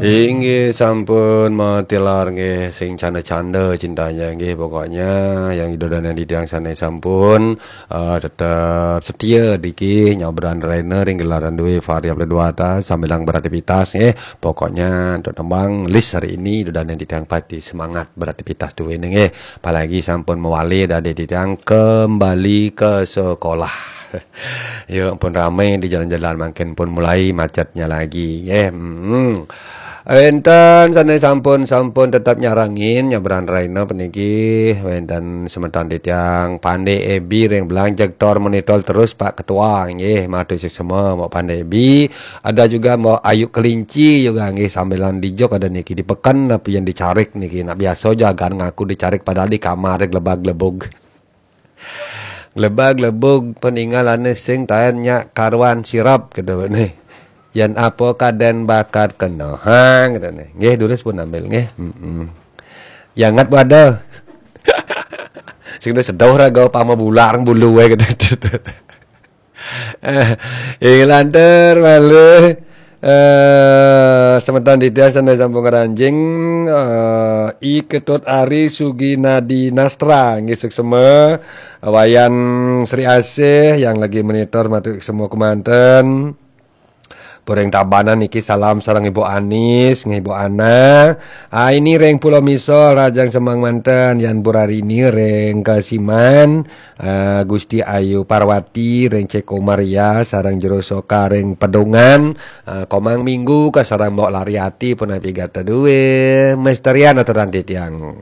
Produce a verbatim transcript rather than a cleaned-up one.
Inggih sampun matilar nggih, sing canda-canda cintanya nggih. Pokoknya yang idodan yang ditiang sana sampun eh, tetap setia diki nyabran Rainer ring gelaran duwe variabel dua atas sambilang beraktivitas nggih. Pokoknya untuk tembang list hari ini idodan yang ditiang pasti semangat beraktivitas duwe nggih. Apalagi sampun mewali dari ditiang kembali ke sekolah. Ya pun ramai di jalan-jalan, makin pun mulai macetnya lagi nggih. Hmm. Wenten sana sampun sampun tetap nyarangin nyabran Raina peniki. Wenten semeton titiang Pande Ebi ring belang jegtor monitor terus Pak Ketua nggih, matur suksma Mbok Pande Ebi. Ada juga Mbok Ayu Kelinci juga nggih, sambilan dijok ada niki di peken, tapi yang dicarik niki nak biasa jagan ngaku dicarik padahal di kamar glebag-glebug. Glebag-glebug peninggalane sing taen nyak karuan sirap gitu nih. Yan apa kaden bakat kena hang gitu nih. Nggih, durus pun ambil nggih. Heeh. Yang ngat pada. Sing udah sedoh raga pama bular bulu wae gitu. Eh, ing lantur malih eh semeton Didia sana sampun karanjing eh I Ketut Ari Suginadi Nastra nggih, suksema. Wayan Sri Asih yang lagi monitor matur semua kemanten. Boreng Tabanan niki salam sareng Ibu Anis, nggih Ibu Ana. Ah, ini ring Pulau Misol Rajang Semang manten, Yan Burarini ring Kasiman, ah, Gusti Ayu Parwati ring Ceko Maria sareng Jero Soka ring Pedungan, ah, Komang Minggu ka sareng Mbok Lariati punapi gatra duwe. Misterian aturan titiang.